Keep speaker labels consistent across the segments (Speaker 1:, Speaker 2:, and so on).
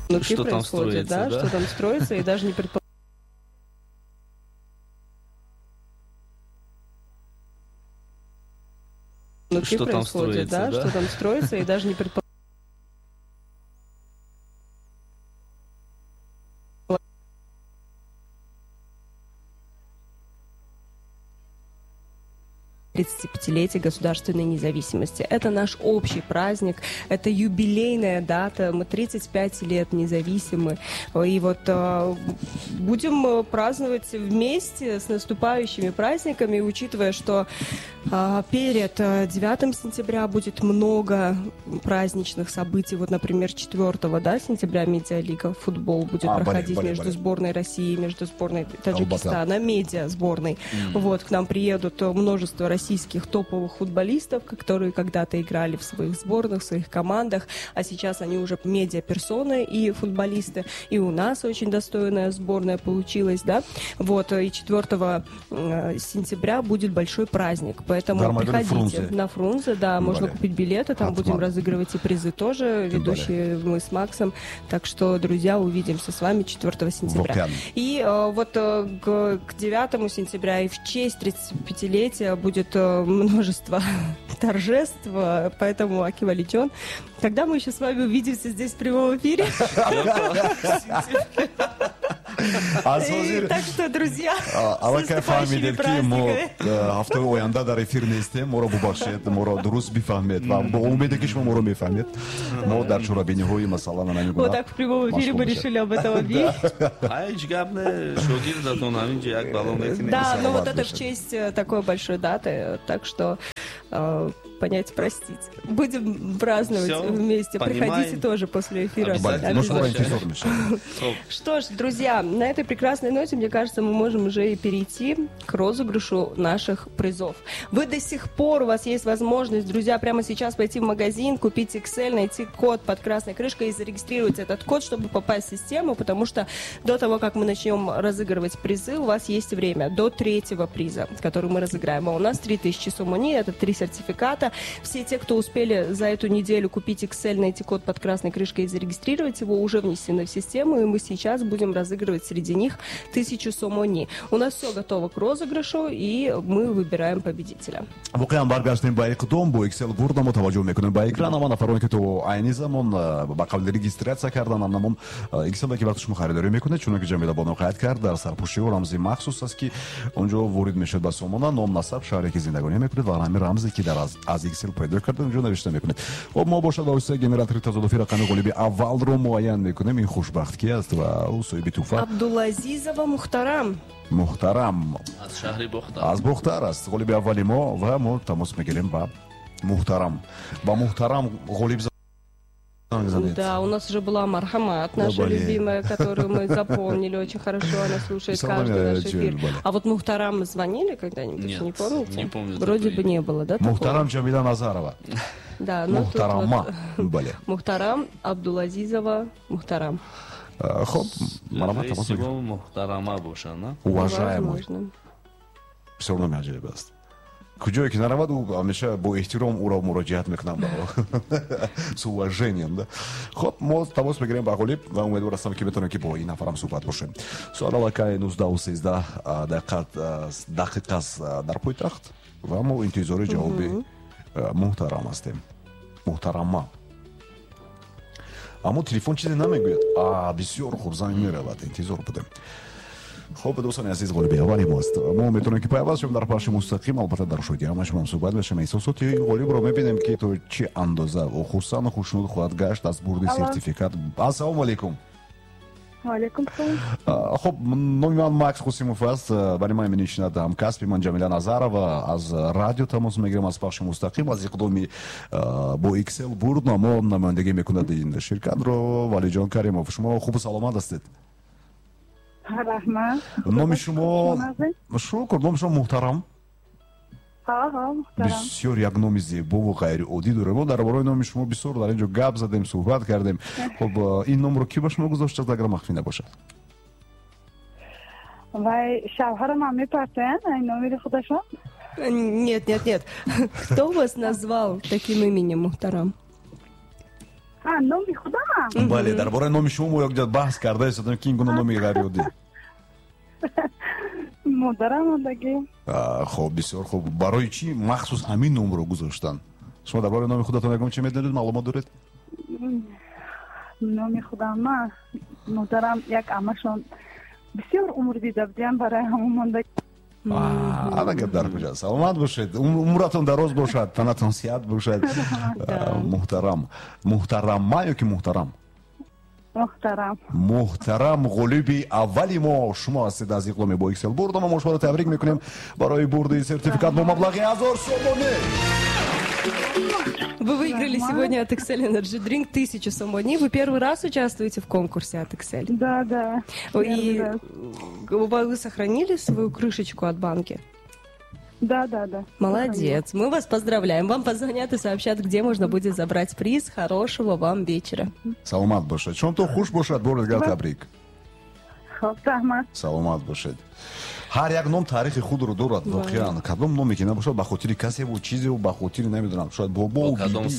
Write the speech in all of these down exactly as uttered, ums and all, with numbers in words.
Speaker 1: Внутри
Speaker 2: Что там
Speaker 1: происходит,
Speaker 2: строится,
Speaker 1: да,
Speaker 2: да?
Speaker 1: Что там строится, и даже не предполагали. Внутри
Speaker 2: Что там
Speaker 1: происходит,
Speaker 2: строится,
Speaker 1: да,
Speaker 2: да?
Speaker 1: Что там строится, и даже не предполагали. тридцатипятилетие государственной независимости. Это наш общий праздник, это юбилейная дата, мы тридцать пять лет независимы. И вот э, будем праздновать вместе с наступающими праздниками, учитывая, что э, перед девятым сентября будет много праздничных событий. Вот, например, четвёртого, да, сентября медиалига футбол будет
Speaker 3: а,
Speaker 1: проходить
Speaker 3: боле, боле,
Speaker 1: между
Speaker 3: боле.
Speaker 1: сборной России и между сборной Таджикистана, медиа сборной.
Speaker 2: Mm.
Speaker 1: Вот, к нам приедут множество российских топовых футболистов, которые когда-то играли в своих сборных, в своих командах, а сейчас они уже медиаперсоны и футболисты. И у нас очень достойная сборная получилась, да. Вот, и четвёртого сентября будет большой праздник, поэтому
Speaker 3: Дарма,
Speaker 1: приходите
Speaker 3: Фрунзе.
Speaker 1: На Фрунзе, да, можно
Speaker 3: Бале.
Speaker 1: купить билеты, там
Speaker 3: Атман.
Speaker 1: будем разыгрывать и призы тоже, ведущие мы с Максом. Так что, друзья, увидимся с вами четвёртого сентября.
Speaker 3: Вокеан.
Speaker 1: И вот к, к девятому сентября и в честь тридцатипятилетия будет множество торжеств, поэтому Аки Валичон. Когда мы еще с вами увидимся здесь в прямом эфире? Так что, друзья, с наступающими праздниками.
Speaker 3: Ҳафтаи оянда дар эфир нестем, моро бубахшед, моро дуруст бифаҳмед ва бо умеде ки шумо моро мефаҳмед. Мо дар чорабиниҳои масалан ана
Speaker 1: Вот так в прямом эфире мы решили об этом объявить.
Speaker 2: Ҳеҷ гап не, шогирдатон ҳамин ҷо як бало метинем.
Speaker 1: Да, ну вот это в честь такой большой даты, так что понять, простить. Будем праздновать
Speaker 2: Всё,
Speaker 1: вместе.
Speaker 2: Понимаем.
Speaker 1: Приходите тоже после эфира. Что ж, друзья, на этой прекрасной ноте, мне кажется, мы можем уже и перейти к розыгрышу наших призов. Вы до сих пор, у вас есть возможность, друзья, прямо сейчас пойти в магазин, купить Excel, найти код под красной крышкой и зарегистрировать этот код, чтобы попасть в систему, потому что до того, как мы начнем разыгрывать призы, у вас есть время до третьего приза, который мы разыграем. А у нас три тысячи сомони, это три сертификата. Все те, кто успели за эту неделю купить Excel, найти код под красной крышкой и зарегистрировать его, уже внесены в систему, и мы сейчас будем разыгрывать среди них тысячу сомони. У нас все готово к розыгрышу, и мы выбираем победителя.
Speaker 3: Воқеан баргаштем ба иқдом бо Excel бурда мо таваҷҷӯҳ мекунем ба экран. Ама нафароне ки то айни замон ба қабли регистрация кардан, ҳамон Excel ки вақти шумо харидорӣ мекунед, чунон ки Ҷамила бону қайд кард, дар сарпӯши ӯ рамзи махсус аст, ки онҷо ворид мешавад ба сомона, ном, насаб, шаҳре ки зиндагонӣ мекунед ва ҳамин рамзе ки дар аз Excel пайдо карда онҷо навишта мекунед. Хоб, мо бошад ба воситаи генератори тазодуфи рақами ғолиби аввалро муайян мекунем. Ин хушбахт ки аст ва ӯ соҳиби туҳфа
Speaker 1: Абдулазизова Мухтарам.
Speaker 3: Мухтарам
Speaker 2: аз шаҳри Бохтар.
Speaker 3: Аз Бохтар аст ғолиби аввали мо ва мо тамос мегирем ба Мухтарам. Ба Мухтарам ғолиб.
Speaker 1: Да, у нас уже была Мархамат, наша
Speaker 3: да,
Speaker 1: любимая, которую мы запомнили очень хорошо, она слушает каждый наш эфир. А вот Мухтарам звонили когда-нибудь,
Speaker 2: Нет,
Speaker 1: не помните?
Speaker 2: Не помню.
Speaker 1: Вроде бы не было, да?
Speaker 3: Мухтарам Джамиля Назарова.
Speaker 1: Да, ну
Speaker 3: Мухтарама.
Speaker 1: Вот... Мухтарам Абдулазизова Мухтарам.
Speaker 3: Хоп,
Speaker 2: Мухтарама боша, на?
Speaker 3: Уважаемый. Все равно меаҷиб аст. Куҷое ки наравад, ӯ ҳамеша бо эҳтиром ӯро муроҷиат мекунам, с уважением, да. Хоб, мо тамос мегирем ба ғолиб ва умедвор ҳастам, ки метавонем ки бо ин нафарам суҳбат бошем. Соат аллакай нуздаҳу сездаҳ дақиқа аст дар пойтахт ва мо интизори ҷавоби муҳтарам ҳастем. Муҳтарама. Аммо телефон чизе намегӯяд. А, бисёр хуб, занг меравад, интизор будем. Хоб, дӯстони азиз, ғолиби аввали мост. Мо метавонем ки пайваст шавем дар пахши мустақим, албатта дар шоҳиди ҳама шумо суҳбат мешавем. Эҳсосоти ғолибро мебинем, ки то чӣ андоза ӯ хурсанду хушнуд хоҳад гашт аз бурди сертификат. Ассалому алайкум.
Speaker 4: Ваалайкум салом.
Speaker 3: Хоб, номи ман Макс Қосимов аст. Барои ман менишинад ҳамкасби ман Ҷамила Назарова. Аз радио тамос мегирем, аз пахши мустақим, аз иқдоми бо Excel бурд мо намояндагӣ мекунад ин ширкатро Валиҷон Каримов. Шумо хубу саломат ҳастед?
Speaker 4: Раҳмат.
Speaker 3: Номи шумо шукр, номи шумо Муҳтарам?
Speaker 4: Ҳа, ҳа, Муҳтарам.
Speaker 3: Бисёр як номи зебову ғайриоддӣ дорем. Мо дар бораи номи шумо бисёр дар ин ҷо гап задем, суҳбат кардем. Хоб, ин номро кӣ ба шумо гузоштааст, агар махфӣ набошад?
Speaker 4: Вай, шавҳарам ҳам мепартоянд ин номери худашон?
Speaker 1: Нет, нет, нет. Кто вас назвал таким именем, Мухтарам?
Speaker 4: А, номи худам?
Speaker 3: Бале, дар бораи номи шумо мо якҷо баҳс карда истодем, ки ин гуна номи ғайриоддӣ.
Speaker 4: Модарам мондагӣ.
Speaker 3: Хуб, бисёр хуб. Барои чӣ махсус ҳамин номро гузоштанд? Шумо дар бораи номи худатон ягон чӣ медонед, маълумот доред?
Speaker 4: Номи худам ма модарам як амашон бисёр умр дида будиям, барои ҳамон мондагӣ.
Speaker 3: Ана гап дар куҷо. Саломат бошед, умратон дароз бошад, танатон сиҳат бошад. Муҳтарам. Муҳтарама ё ки муҳтарам?
Speaker 4: Муҳтарам.
Speaker 3: Муҳтарам, ғолиби аввали мо шумо ҳастед аз иқдоми бо Excel бурд. Мо шуморо табрик мекунем барои бурди сертификат бо маблағи ҳазор сомонӣ.
Speaker 1: Вы выиграли сегодня от Excel Energy Drink тысячу сомони. Вы первый раз участвуете в конкурсе от Excel?
Speaker 4: Да, да.
Speaker 1: И вы сохранили свою крышечку от банки?
Speaker 4: Да, да, да.
Speaker 1: Молодец. Мы вас поздравляем. Вам позвонят и сообщат, где можно будет забрать приз. Хорошего вам вечера.
Speaker 3: Саломат бошед. Шомтон хуш бошад, бори дигар табрик. Саломат бошед. Ҳар як ном таърихи худро дорад, воқеан. Кадом номе ки набошад, ба хотири касеву чизеву, ба хотири намедонам, шояд бобо, биби,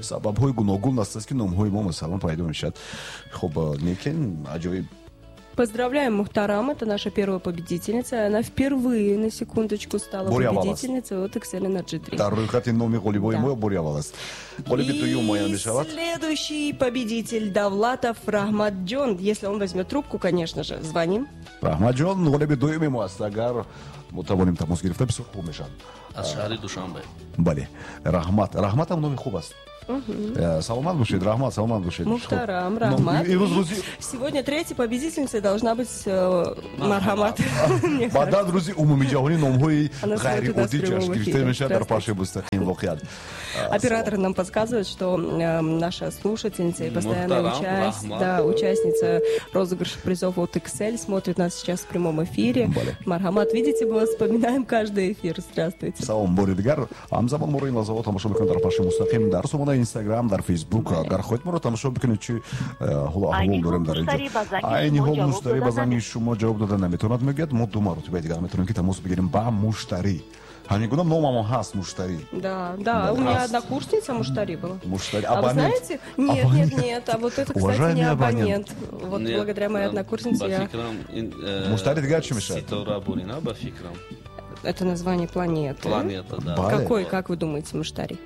Speaker 3: сабабҳои гуногун аст, ки номҳои мо масалан пайдо мешавад. Хуб, лекин аҷоиб.
Speaker 1: Поздравляем Мухтарам, это наша первая победительница. Она впервые, на секундочку, стала победительницей от Excel Energy Drink.
Speaker 3: Дар рӯйхати номи ғолибои мо бори аввал аст. Ғолиби дуюм муайян мешавад.
Speaker 1: Следующий победитель Давлатов Раҳматҷон. Если он возьмет трубку, конечно же, звоним.
Speaker 3: Раҳматҷон, ғолиби дуюми мо аст. Агар мо тавонем тамос гирифта, бисёр хуб мешавад.
Speaker 2: Аз шаҳри Душанбе.
Speaker 3: Бале, Раҳмат. Раҳмат ҳам номи хуб аст. Саломат бошед, Раҳмат, саломат бошед.
Speaker 1: Мухтарам, Раҳмат. Сегодня третьей победительницей должна быть Марҳамат.
Speaker 3: Баъдан рӯзи умумиҷаҳонӣ номҳои ғайриоддӣ ҷашн гирифта мешавад дар пахши мустақим воқеан.
Speaker 1: Оператор нам подсказывает, что наша слушательница и постоянная участница розыгрыша призов от Excel смотрит нас сейчас в прямом эфире. Марҳамат, видите, мы вас вспоминаем каждый эфир. Здравствуйте.
Speaker 3: Салом, бори дигар. Ҳамзамон моро ин лаҳзаҳо тамошо мекунед дар пахши мустақим дар сомонаи Инстаграм, дар Фейсбук. Агар хоҳед моро тамошо бикунед, чӣ ҳоло аҳвол дорем дар инҷо. Айни ҳол муштарӣ ба занги шумо ҷавоб дода наметавонад, мегӯяд. Мо ду маротиба дигар метавонем ки тамос бигирем ба муштарӣ. Ҳамин гуна номамон ҳаст муштарӣ.
Speaker 1: Да, да, у меня однокурсница муштарӣ была.
Speaker 3: Муштарӣ.
Speaker 1: А вы знаете? Нет, нет, нет, а вот это, кстати, не абонент. Вот благодаря моей однокурснице я...
Speaker 3: Муштарӣ дигар чӣ мешавад?
Speaker 2: Ситора бурина, ба фикрам.
Speaker 1: Это название планеты.
Speaker 2: Планета, да.
Speaker 1: Какой, как вы думаете, муштарӣ?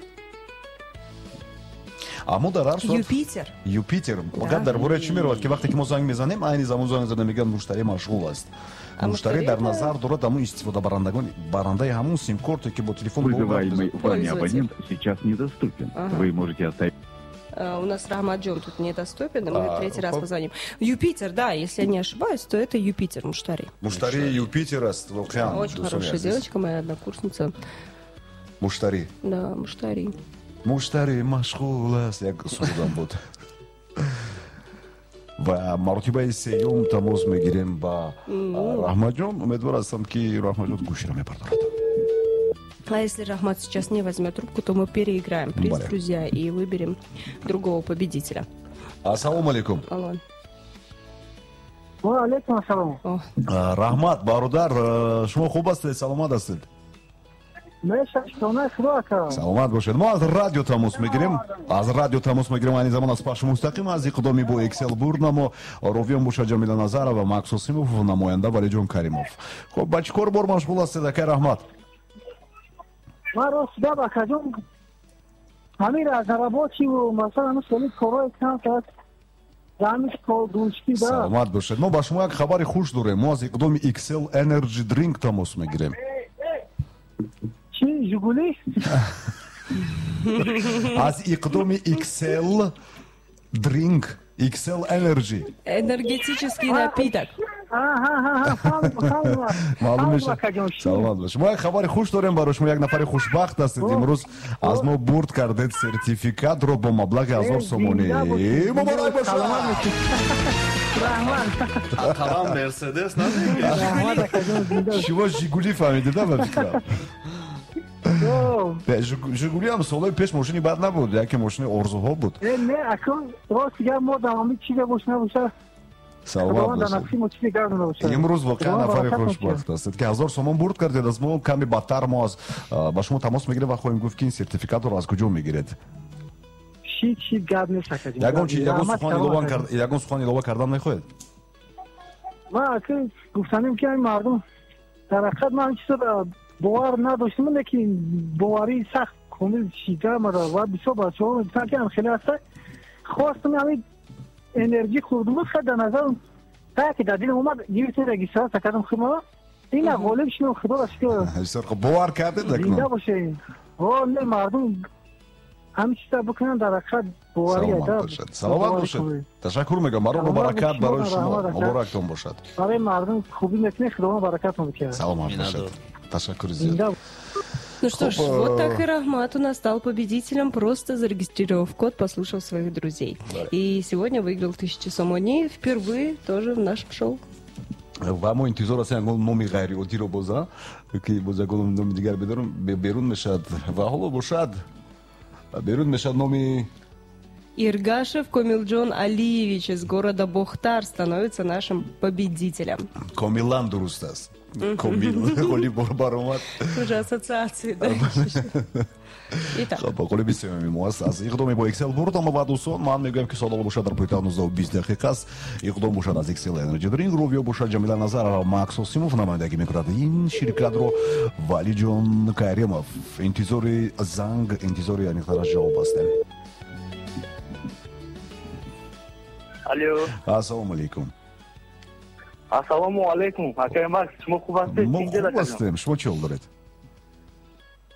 Speaker 3: Аммо дар ҳар сурат
Speaker 1: Юпитер.
Speaker 3: Юпитер. Гап дар бораи чӣ меравад, ки вақте ки мо занг мезанем, айни замон занг зада мегӯянд муштарӣ машғул аст. Муштарӣ дар назар дорад ҳамон истифодабарандагон, барандаи ҳамон сим-корте, ки бо телефон
Speaker 5: Вызываемый вами абонент сейчас недоступен. Вы можете оставить.
Speaker 1: У нас Раҳматҷон тут недоступен, и мы третий раз позвоним. Юпитер, да, если я не ошибаюсь, то это Юпитер, Муштари.
Speaker 3: Муштари Юпитер аст, воқеан.
Speaker 1: Очень хорошая девочка, моя однокурсница.
Speaker 3: Муштари.
Speaker 1: Да, Муштари.
Speaker 3: Муштари машғул аст, як сурудам буд. Ва маротибаи сеюм тамос мегирем ба Раҳматҷон. Умедвор ҳастам, ки Раҳматҷон гӯширо мебардорад.
Speaker 1: А если Рахмат сейчас не возьмет трубку, то мы переиграем приз,
Speaker 3: Бале.
Speaker 1: друзья, и выберем другого победителя.
Speaker 3: Ассалому алейкум.
Speaker 1: Алло.
Speaker 6: Ва алейкум ассалом.
Speaker 3: Раҳмат, бародар, шумо хуб ҳастед, саломат ҳастед? Саломат бошед. Мо аз радио тамос мегирем. Аз радио тамос мегирем айни замон аз пахши мустақим аз иқдоми бо Excel бурд намо. Ровиён бошад Ҷамила Назарова, Макс Осимов, намоянда Валиҷон Каримов. Хуб, ба чӣ кор бор машғул ҳастед, акай Раҳмат?
Speaker 6: Ман рост гап, акаҷон, ҳамин аз работиву масалан соли корҳои кам соат
Speaker 3: Саломат бошед. Мо ба шумо як хабари хуш дорем. Мо аз иқдоми Excel Energy Drink тамос мегирем.
Speaker 6: Чӣ, Жигули?
Speaker 3: Аз иқдоми Excel Drink, Excel Energy.
Speaker 1: Энергетический напиток.
Speaker 3: Маълум мешавад. Саломат бошед. Мо як хабари хуш дорем барои шумо. Як нафари хушбахт ҳастед. Имрӯз аз мо бурд кардед сертификатро бо маблағи ҳазор сомонӣ. Муборак бошад!
Speaker 2: Ақаллан Мерседес намегиред.
Speaker 3: Шумо Жигули фаҳмидед, ба фикрам? Жигули ҳам солҳои пеш мошини бад набуд, яке мошини орзуҳо буд.
Speaker 6: Не, акун рост гап, мо дар ҳамин чизе бош набошад.
Speaker 3: Саломат бошед. Имрӯз воқеан нафари хушбахт ҳастед, ки ҳазор сомон бурд кардед. Аз мо каме бадтар мо аз ба шумо тамос мегирем ва хоҳем гуфт, ки ин сертификатро аз куҷо мегиред.
Speaker 6: Чӣ чӣ гап нест, акаҷон.
Speaker 3: Ягон чи, ягон сухан илова кард, ягон сухан илова кардан мехоҳед?
Speaker 6: Ман ака гуфтанем ки ҳамин мардум дар ҳақиқат ман ҳамин чизро бовар надоштам, лекин боварии сахт комил шида мара ва бисёр бачаҳо мегуфтанд ки ҳам хеле ҳаста. Хостам ҳамин энергӣ хурдум буд, хай дар назарам ки дар дилам омад, гирифтем регистрация кардам худмара. Ина ғолиб шудам, худоро шукр.
Speaker 3: Бисёр хуб, бовар кардед акнун?
Speaker 6: Зинда бошед. О, не, мардум ҳамин чиза бикунанд, дар ҳақиқат боварӣ
Speaker 3: Саломат бошед. Саломат бошед. Ташаккур мегӯям. Барои баракат барои шумо. Муборактон бошад.
Speaker 6: Барои мардум хубӣ мекунед, Худованд баракатон бикунад.
Speaker 3: Саломат бошед. Ташаккур зиёд.
Speaker 1: Ну что ж, вот так и Рахмат у нас стал победителем, просто зарегистрировав код, послушав своих друзей. Да. И сегодня выиграл тысячу сомони, впервые тоже в нашем шоу.
Speaker 3: Ва мо интизор ҳастем ягон номи ғайриоддиро боза, ки боз ягон номи дигар берун мешавад. Ва ҳоло бошад, берун мешавад номи...
Speaker 1: Иргашев Комилджон Алиевич из города Бохтар становится нашим победителем.
Speaker 3: Комилан дуруст аст. Комил, ғолиб баромад.
Speaker 1: Уже ассоциации, да? Итак.
Speaker 3: Хоб, ғолиби сеюми мо аст аз иқдоми бо Excel бурд. Аммо ба дӯстон ман мегӯям ки соат бошад дар пойтахт нуздаҳу бист дақиқа аст. Иқдом бошад аз Excel Energy Drink, Ровио бошад Ҷамила Назарова, Макс Осимов намояндагӣ мекунад ин ширкатро. Валиҷон Каримов. Интизори занг, интизори аниқтараш ҷавоб ҳастем.
Speaker 7: Алло.
Speaker 3: Ассалому алайкум.
Speaker 7: Ассалому алайкум. Акай Макс, шумо хуб ҳастед?
Speaker 3: Мо хуб ҳастем. Шумо чӣ ҳол доред?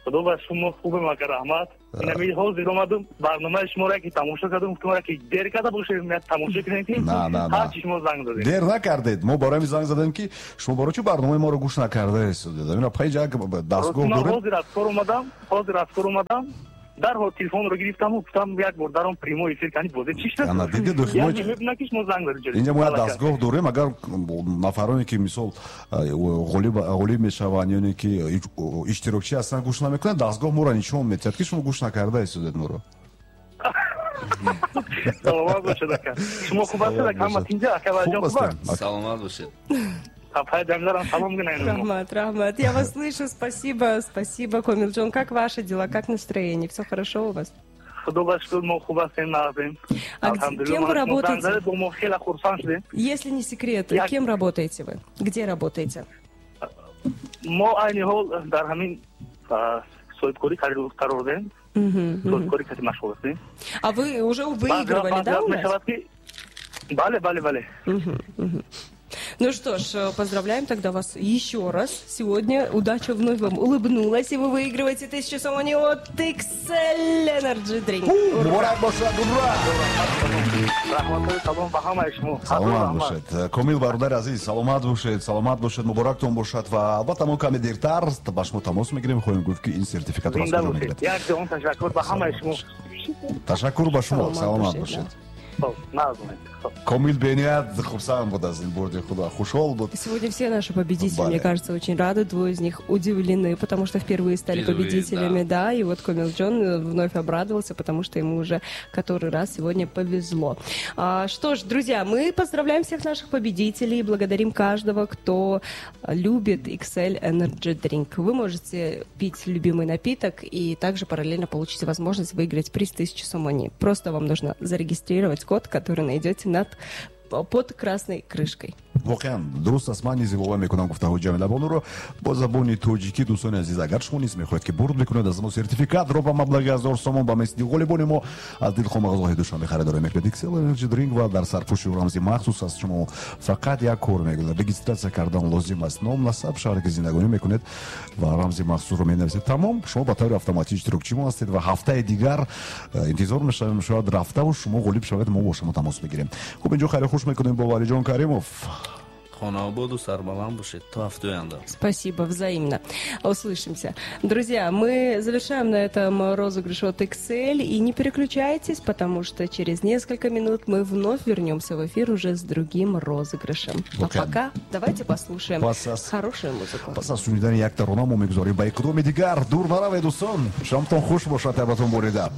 Speaker 7: Худо ба шумо хубем, ака, раҳмат. Инами ҳозир омадам, барномаи шуморо ки тамошо кардам, гуфтам ки дер карда бошем, як тамошо кунем ки ҳарчи шумо занг задед.
Speaker 3: Дер накардед. Мо барои ҳамин занг задем ки шумо барои чӣ барномаи моро гӯш накардаед? Ина панҷ як дастгоҳ доред.
Speaker 7: Ҳозир аз кор омадам, ҳозир аз кор омадам. Дарҳол телефонро гирифтам ва гуфтам як бор даром прямой эфир кани бозе чӣ шуд?
Speaker 3: Ана дидед, инҷа мо як дастгоҳ дорем, агар нафароне ки мисол ғолиб ғолиб мешаванд ё ки иштирокчӣ ҳастанд гӯш намекунанд, дастгоҳ моро нишон медиҳад ки шумо гӯш накарда истодед моро.
Speaker 7: Саломат бошед, ака. Шумо хуб ҳастед, ака? Ҳама тинҷа, ака Валиҷон хуб аст?
Speaker 2: Саломат бошед.
Speaker 1: Рахмат, рахмат. Я вас слышу, спасибо, спасибо, Комилджон. Как ваши дела, как настроение? Все хорошо у вас? А кем вы работаете? Если не секрет, кем работаете вы? Где работаете? А вы уже выигрывали, да, у нас?
Speaker 7: Бале, бале, бале.
Speaker 1: Ну что ж, поздравляем тогда вас еще раз. Сегодня удача вновь вам улыбнулась, и вы выигрываете тысячу сомони от Excel Energy Drink.
Speaker 3: Муборак бошад, ура! Саломат бошед. Комил бародари азиз, саломат бошед, саломат бошед, муборактон бошад ва албатта мо каме дертар ба шумо тамос мегирем, хоҳем гуфт ки ин сертификатро аз куҷо мегиред.
Speaker 7: Як ҷаҳон ташаккур ба ҳамаи шумо.
Speaker 3: Ташаккур ба шумо, саломат бошед. Комил бениҳоят хурсанд буд аз ин бурди худо, хушҳол буд.
Speaker 1: Сегодня все наши победители, мне кажется, очень рады. Двое из них удивлены, потому что впервые стали победителями, да. И вот Комил Джон вновь обрадовался, потому что ему уже который раз сегодня повезло. А, что ж, друзья, мы поздравляем всех наших победителей и благодарим каждого, кто любит Excel Energy Drink. Вы можете пить любимый напиток и также параллельно получить возможность выиграть приз тысячу сомони. Просто вам нужно зарегистрировать код, который найдете над под красной крышкой.
Speaker 3: Воқеан дуруст аст. Ман низ илова мекунам гуфтаҳои Ҷамила Бонуро бо забони тоҷикӣ. Дӯстони азиз, агар шумо низ мехоҳед ки бурд бикунед аз мо сертификатро ба маблағи ҳазор сомон ба мисли ғолибони мо аз дилхоҳ мағозаҳои Душанбе харидорӣ мекунед Excel Energy Drink ва дар сарпӯши рамзи махсус аст. Шумо фақат як кор мекунед, регистрация кардан лозим аст, ном, насаб, шаҳре ки зиндагонӣ мекунед ва рамзи махсусро менависед. Тамом, шумо ба таври автоматӣ иштирокчи мо ҳастед ва ҳафтаи дигар интизор мешавем, шояд рафтаву шумо ғолиб шавед, мо бо шумо тамос мегирем. Хуб, инҷо хайри хуш мекунем бо Валиҷон Каримов.
Speaker 2: Хонаободу сарбаланд бошед. То ҳафтаи оянда.
Speaker 1: Спасибо, взаимно. Услышимся. Друзья, мы завершаем на этом розыгрыш от Excel. И не переключайтесь, потому что через несколько минут мы вновь вернемся в эфир уже с другим розыгрышем. А пока давайте послушаем хорошую музыку.
Speaker 3: Пас аз шунидани як тарона мо мегузорем ба иқдоми дигар. Дур наравед, дӯстон. Шомтон хуш бошад, табатон бурида.